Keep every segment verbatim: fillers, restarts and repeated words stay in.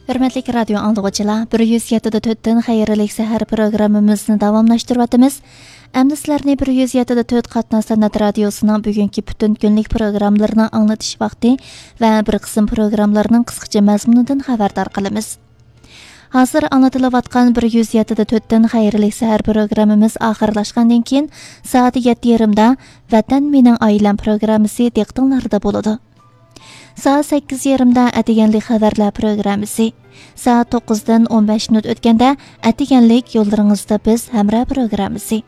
ھۆرمەتلىك رادىيو ئاڭلىغۇچىلار، بىر يۈز يەتتە دە تۆتتىن خەيرلىك سەھەر پروگراممىمىزنى داۋاملاشتۇرۇۋاتىمىز. ئەمدى سىلەرنى بىر يۈز يەتتە دە تۆت قاتناش سەنئەت رادىيوسىنىڭ بۈگۈنكى پۈتۈن كۈنلۈك پروگراممىلىرىنىڭ ئاڭلىتىش ۋاقتى ۋە بىر قىسىم پروگراممىلارنىڭ قىسقىچە مەزمۇنىدىن خەۋەردار قىلىمىز. ھازىر ئاڭلىتىلىۋاتقان بىر يۈز يەتتە دە تۆتتىن خەيرلىك سەھەر پروگراممىمىز ئاخىرلاشقاندىن كېيىن، سائەت يەتتە يېرىمدا ۋەتەن مېنىڭ ئائىلەم پروگراممىسى دىققىتىڭلاردا بولىدۇ. سائەت سەككىز يېرىمدا ئەتىگەنلىك خەۋەرلەر پروگراممىسى. سائەت توققۇزدىن ئون بەش مىنۇت ئۆتكەندە، ئەتىگەنلىك يوللىرىڭىزدا بىز ھەمراھ پروگراممىسى.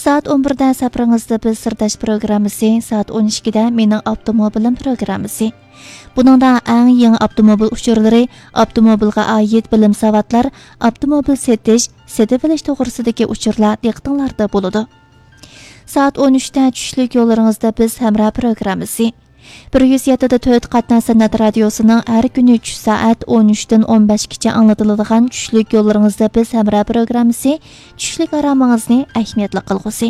سائەت ئون بىردە سەپىرىڭىزدە بىز سىرداش پروگراممىسى، سائەت ئون ئىككىدە مېنىڭ ئاپتوموبىلىم پروگراممىسى. بۇنىڭدا ئەڭ يېڭى ئاپتوموبىل ئۇچۇرلىرى، ئاپتوموبىلغا ئائىت بىلىم ساۋاتلار، ئاپتوموبىل سېتىش، سېتىۋېلىش توغرىسىدىكى ئۇچۇرلار دىققىتىڭلاردا بولىدۇ. سائەت ئون ئۈچتە چۈشلۈك يوللىرىڭىزدا بىز ھەمراھ پروگراممىسى. بىر يۈز يەتتە دە تۆت قاتناش سەنئەت رادىيوسىنىڭ ھەر كۈنى چۈش سائەت ئون ئۈچتىن ئون بەشكىچە ئاڭلىتىلىدىغان چۈشلۈك يوللىرىڭىزدا بىز ھەمراھ پروگراممىسى چۈشلۈك ئارامىڭىزنى ئەھمىيەتلىك قىلغۇسى.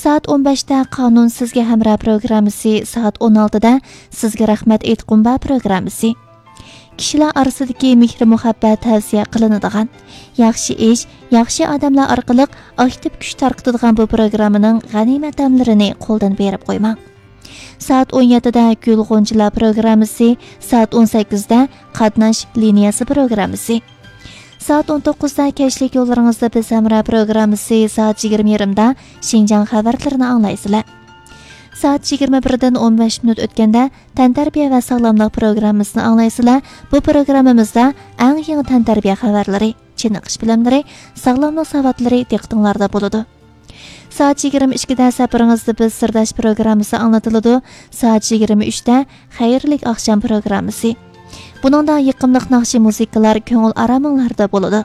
سائەت ئون بەشتە قانۇن سىزگە ھەمراھ پروگراممىسى، سائەت ئون ئالتىدە سىزگە رەھمەت ئېيتقۇم بار پروگراممىسى. كىشىلەر ئارىسىدىكى مېھرى مۇھەببەت تەۋسىيە قىلىنىدىغان، ياخشى ئىش، ياخشى ئادەملەر ئارقىلىق ئاكتىپ كۈچ تارقىتىدىغان بۇ پروگراممىنىڭ غەنىيمەت دەملىرىنى قولدىن بېرىپ قويماڭ. سائەت ئون يەتتىدە گۈل غۇنچىلار پروگراممىسى، سائەت ئون سەككىزدە قاتناش لىنىيەسى پروگراممىسى. سائەت ئون توققۇزدا كەچلىك يوللىرىڭىزدا بىز ھەمراھ پروگراممىسى، سائەت يىگىرمە يېرىمدا شىنجاڭ خەۋەرلىرىنى ئاڭلايسىلەر. سائەت يىگىرمە بىردىن ئون بەش مىنۇت ئۆتكەندە تەنتەربىيە ۋە ساغلاملىق پروگراممىسىنى ئاڭلايسىلەر. بۇ پروگراممىمىزدا ئەڭ يېڭى تەنتەربىيە خەۋەرلىرى، چېنىقىش بىلىملىرى، ساغلاملىق ساۋاتلىرى دىققىتىڭلاردا بولىدۇ. سائەت يىگىرمە ئىككىدە سەپىرىڭىزدە بىز سىرداش پروگراممىسى ئاڭلىتىلىدۇ. سائەت يىگىرمە ئۈچتە خەيرلىك ئاخشام پروگراممىسى. بۇنىڭدا يېقىملىق ناخشا مۇزىكىلار كۆڭۈل ئارامىڭلاردا بولىدۇ.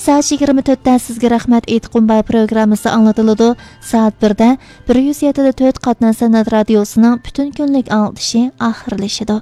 سائەت يىگىرمە تۆتتە سىزگە رەھمەت ئېيتقۇم بار پروگراممىسى ئاڭلىتىلىدۇ. سائەت بىردە بىر يۈز يەتتە دە تۆت قاتناش سەنئەت رادىيوسىنىڭ پۈتۈن كۈنلۈك ئاڭلىتىشى ئاخىرلىشىدۇ.